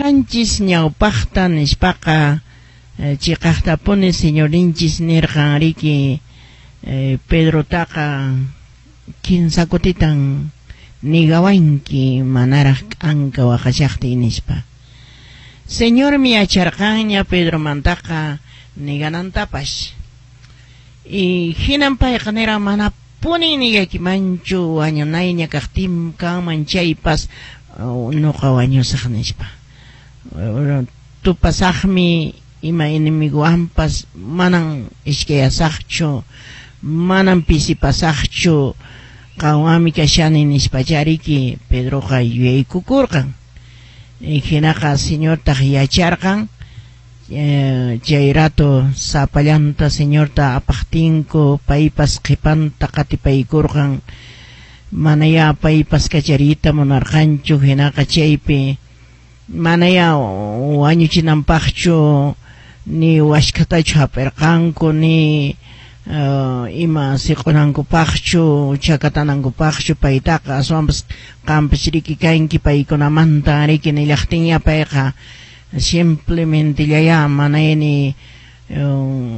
Rimaranchis ñawpaqta nispaqa chiqaqtapuni Señorinchis nirqan riki Pedrotaqa kinsa kutitan nigawanki manaraq k'anka waqashaqtiy nispa. Señormi yacharqanña Pedromantaqa niganantapas. Y hinan payqa niran manapunin nigaykimanchu wañunayña kaqtin kanman chaypas nuqa wañusaq nispa. Tupasaqmi ima enemiguwanpas manan iskayasaqchu, manan pisipasaqchu, qanwanmi kashani nispachariki Pedroqa yuyaykukurqan. Hinaqa Señortaq yacharqan chay rato sapallanta Señorta apaqtinku paypas qhipanta qatipaykurqan, manaya paypas kachariyta munarqanchu, hinaqa chaypi manaya wañuchinanpaqchu ni waskhatachu hap'irqanku ni ima siq'unankupaqchu chakatanankupaqchu paytaqa aswanpas qanpas riki kanki paykunamanta riki nillaqtinya payqa simplemente llaya manaya ni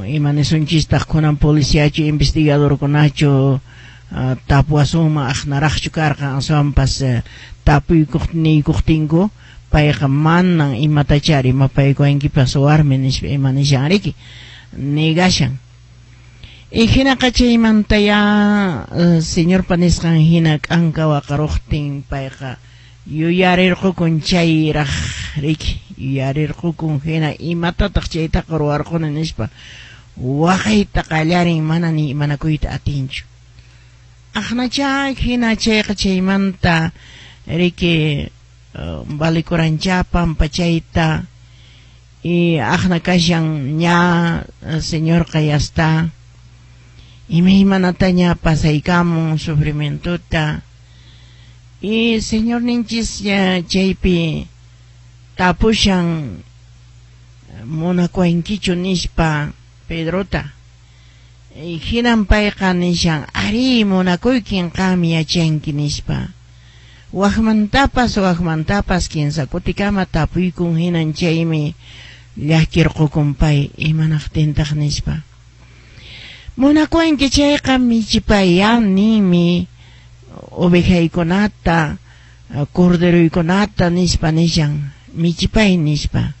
ima nisunchistaq kunan policiachu investigadorkunachu tapuwasunman aqnaraqchu karqan aswanpas tapuykuq niykuqtinku payqa manan imatachari imapaykuwankipas warmi nispa ima nishan riki negashan. Y hinaqa chaymanta ya Señorpa nisqan hina k'anka waqaruqtin payqa yuyarirqukun chayraq riki yuyarirqukun hina imatataq chaytaqa ruwarquni nispa waqayta qallarin mana ni imanakuyta atinchu. Aqnacha hina chayqa chaymanta riki valikurancha pampachayta y aqna kashan ña Señorqa ya está imaymanataña pasaykamun sufrimientuta y Señor ninchis chaypi tapushan munakuwankichu nispa Pedrota y hinan payqa nishan ari munakuykin qam yachanki nispa. Waqmantapas waqmantapas kinsa kutikama tapuykun hinan chaymi llakirqukun pay imanaqtintaq nispa. Munakuwanki chayqa michipaya ninmi ovejaykunata corderuykunata nispa nishan michipay nispa.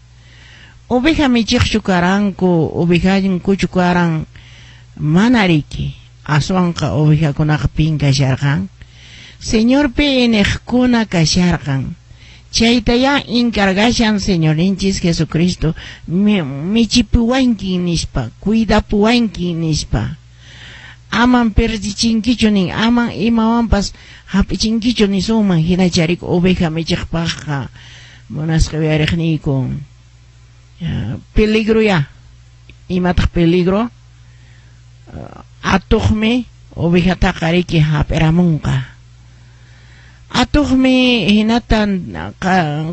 Oveja michiqchu karanku ovejankuchu karan mana riki aswanqa ovejakunaqa pin kasharqan Señorpi iniqkuna kasharqan. Chayta ya encargashan Señorinchis Jesucristo michipuwanki nispa, cuidapuwanki nispa. Aman perdichinkichu nin, aman imawanpas hap'ichinkichu nisunman hinacharik oveja michiqpaqqa munasqa uyariqniyku. Peligro ya. Imataq peligro? Atuqmi ovejataqa riki hap'iramunqa. Atuqmi hinata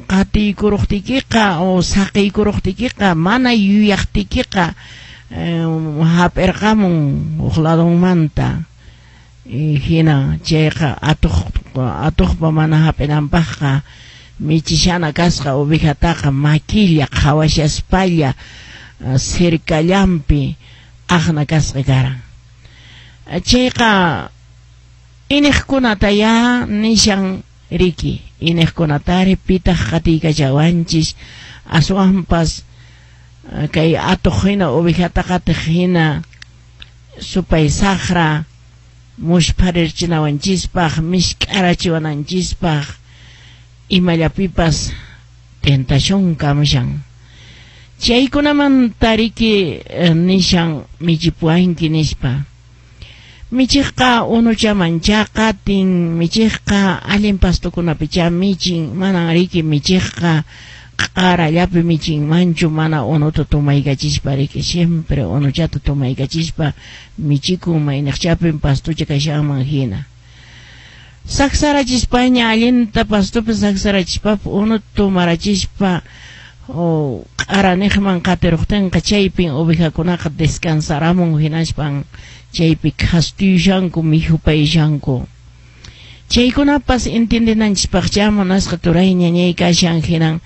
qatiykuruqtiykiqa o saqiykuruqtiykiqa mana yuyaqtiykiqa hap'irqamun huk ladunmanta hina chayqa atuqpa mana hap'inanpaqqa michishana kasqa ovejataqa makilla qhawashaspalla cercallanpi aqna kasqa karan. Chayqa iniqkunata ya nishan riki iniqkunatari pitaq qatiykachawanchis aswanpas kay atuq hina ovejata qatiq hina supay saqra muspharirchinawanchispaq misk'arachiwananchispaq imallapipas tentación kamushan. Chaykunamanta riki nishan michipuwanki nispa. Michiqqa unuchamancha qatin, michiqqa allin pastukunapicha michin, manan riki michiqqa q'arallapi michinmanchu mana unuta tumaykachispa riki siempre unuchata tumaykachispa michikun mayniqchapin pastucha kashanman hina. Saksarachispaña allinta pastupi saksarachispa unuta tumarachispa q'araniqman qatiruqtinqa chaypin ovejakunaqa descansaramun hinaspan chaypi khastuyushanku mikhupayashanku. Chaykunapas entiendenanchispaqcha munasqa turay ñañay kashan hinan